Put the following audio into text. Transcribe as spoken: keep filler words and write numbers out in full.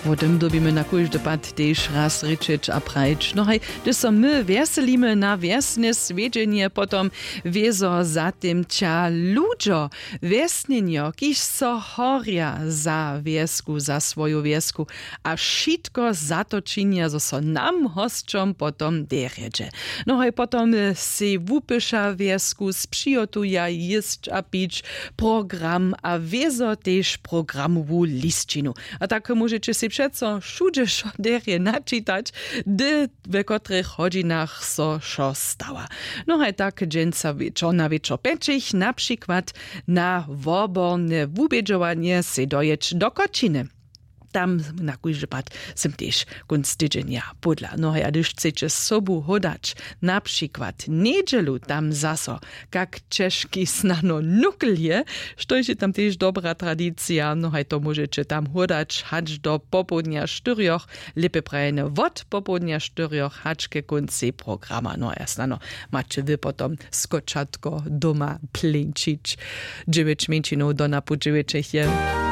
Wo tym dyrbimy na kóždy pad tež raz rěčeć a prajić. No haj, hdyž so my wjeselimy na wjesne swjedźenje, potom wězo za tym ćah ludźo, wjesnjenjo, kiž so horja za wjesku, za swoju wjesku, a wšitko za to činja, zo so nam hosćom potom derje dźe. No haj potom sej wupyša wjesku, spřihotuja jěsć a pić, program a wězo tež programowu lisćinu. A tak móžeće sej přeco wšudźe wšo derje načitać, hdy, we kotrych hodźinach so wšo stawa. No haj tak dźensa wječor na wječor pjećich na přikład na woborne wubědźowanje sej dojěć do koćiny. Tam na kóždy pad sym tež kónc tydźenja pódla. No haj, a hdyž chceće sobu hódać na přikład njedźelu, tam zaso kak ćežki snano nukl je, štož je tam tež dobra tradicija. No haj, to móžeće tam hódać hač do popołdnja štyrjoch, lěpje prajene wot popołdnja štyrjoch hač ke kóncej programa. No a snano maće wy potom skočatko doma pleńčić. Dźewjeć mjeńšinow do napoł dźewjećich je.